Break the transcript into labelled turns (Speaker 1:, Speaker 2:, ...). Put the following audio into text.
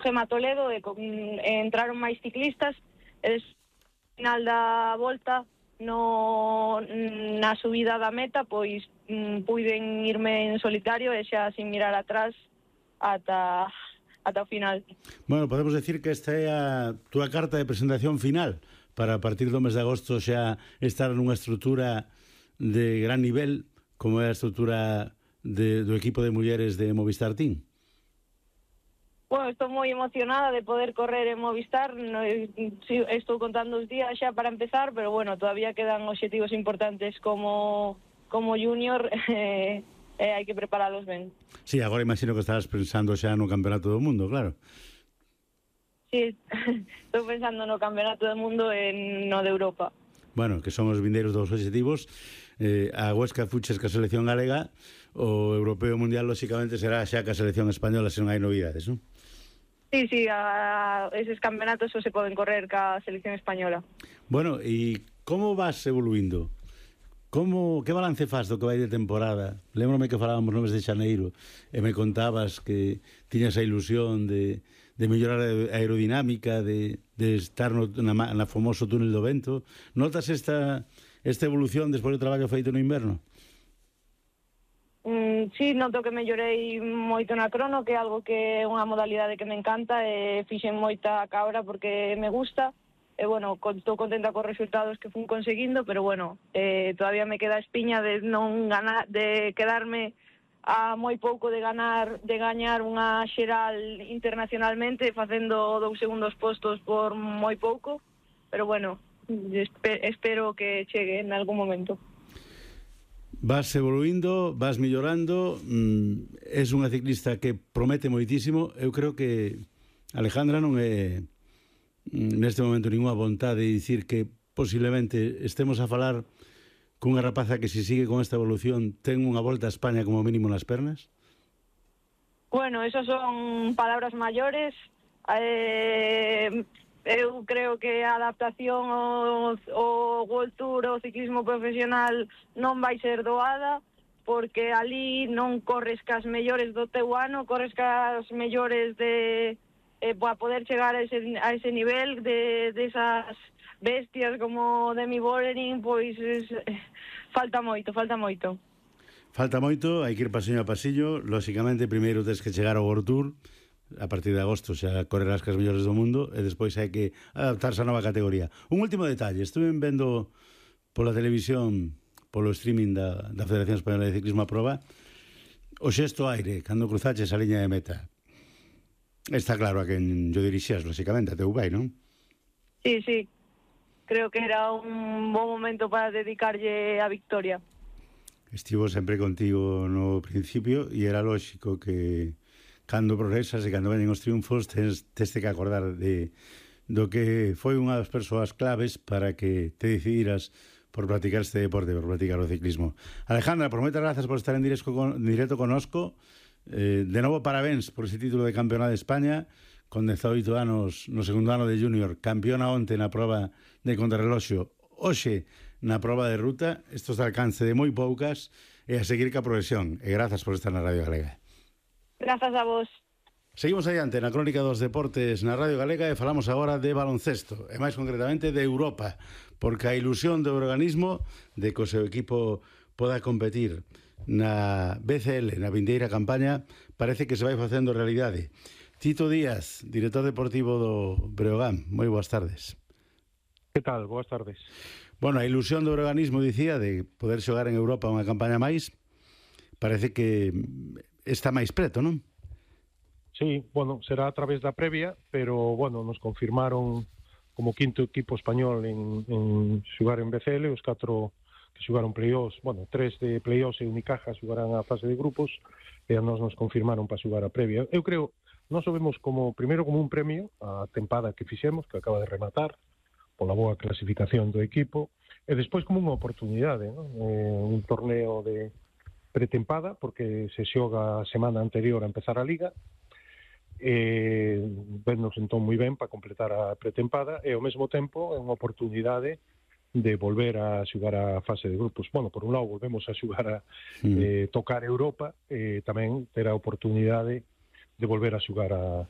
Speaker 1: Gema Toledo e entraron máis ciclistas e final da volta na subida da meta pois puiden irme en solitario e xa sin mirar atrás ata o final.
Speaker 2: Bueno, podemos decir que esta é a túa carta de presentación final para a partir do mes de agosto xa estar nunha estrutura de gran nivel como é a estrutura do equipo de mulleres de Movistar Team.
Speaker 1: Bueno, estou moi emocionada de poder correr en Movistar. Estou contando os días xa para empezar, pero bueno, todavía quedan obxectivos importantes como junior e hai que preparalos ben.
Speaker 2: Sí, agora imagino que estarás pensando xa no Campeonato do Mundo, claro.
Speaker 1: Sí, estou pensando no Campeonato do Mundo e no de Europa.
Speaker 2: Bueno, que son os vindeiros dos obxectivos. A Huesca fuches ca selección galega, o europeo mundial lóxicamente será xa ca selección española se non hai novidades, non?
Speaker 1: Sí, eses campeonatos só se poden correr ca selección española.
Speaker 2: Bueno, e como vas evoluindo? Que balance faz do que vai de temporada? Lémbrame que falábamos no mes de xaneiro e me contabas que tiñas a ilusión de mellorar a aerodinámica, de estar na famoso túnel do vento. Notas esta evolución despois do traballo feito no inverno?
Speaker 1: Sí, noto que mellorei moito na crono, que é algo que é unha modalidade que me encanta e fixen moita cabra porque me gusta. E bueno, estou contenta cos resultados que fun conseguindo, pero bueno, todavía me queda a espiña de non ganar, de quedarme a moi pouco de gañar unha xeral internacionalmente facendo 2 segundos postos por moi pouco, pero bueno, espero que chegue en algún momento.
Speaker 2: Vas evoluindo, vas mellorando, és unha ciclista que promete moitísimo. Eu creo que Alejandra non é neste momento ninguna vontade de dicir que posiblemente estemos a falar cunha rapaza que se sigue con esta evolución ten unha volta a España como mínimo nas pernas?
Speaker 1: Bueno, esos son palabras maiores. Eu creo que a adaptación ao World Tour, ao ciclismo profesional non vai ser doada, porque ali non corres cas mellores do teu ano, corres cas mellores para poder chegar a ese nivel de esas bestias como Demi Vollering, pois falta moito. Falta
Speaker 2: moito, hai que ir pasillo a pasillo. Lóxicamente, primeiro tens que chegar ao World Tour, a partir de agosto xa correrás cas mellores do mundo, e despois hai que adaptarse a nova categoría. Un último detalle, estuve vendo pola televisión, polo streaming da Federación Española de Ciclismo a Proba, o xesto aire, cando cruzaches a liña de meta. Está claro a quen yo dirixías, lóxicamente, a teu pai, non?
Speaker 1: Sí. Creo que era un bon momento para dedicarlle a victoria.
Speaker 2: Estivo sempre contigo no principio e era lóxico que cando progresas e cando venen os triunfos tens que acordar do que foi unha das persoas claves para que te decidiras por practicar este deporte, por practicar o ciclismo. Alejandra, por moitas grazas por estar en directo conosco. De novo, parabéns por ese título de campeona de España con 18 anos no segundo ano de junior, campeona onte na proba de contrarreloxo, hoxe na proba de ruta. Estos de alcance de moi poucas e a seguir ca progresión, e grazas por estar na Radio Galega.
Speaker 1: Grazas a vos.
Speaker 2: Seguimos adiante na crónica dos deportes na Radio Galega e falamos agora de baloncesto, e máis concretamente de Europa, porque a ilusión do organismo de que o seu equipo poda competir na BCL, na vindeira campaña, parece que se vai facendo realidade. Tito Díaz, director deportivo do Breogán, moi boas tardes.
Speaker 3: Que tal? Boas tardes.
Speaker 2: Bueno, a ilusión do organismo, dicía, de poder xogar en Europa unha campaña máis, parece que está máis preto, non?
Speaker 3: Sí, bueno, será a través da previa, pero, bueno, nos confirmaron como quinto equipo español en xogar en BCL, os 4 que xogaron play-offs, bueno, 3 de play-offs e Unicaja xogarán a fase de grupos, e a nos confirmaron para xogar a previa. Eu creo, nós o vemos primeiro como un premio a tempada que fixemos, que acaba de rematar, pola boa clasificación do equipo, e despois como unha oportunidade, non? Un torneo de pretempada, porque se xoga a semana anterior a empezar a Liga, vennos entón moi ben para completar a pretempada, e ao mesmo tempo é unha oportunidade de volver a xogar a fase de grupos. Bueno, por un lado volvemos a xogar a tocar Europa, tamén ter a oportunidade de volver a xogar a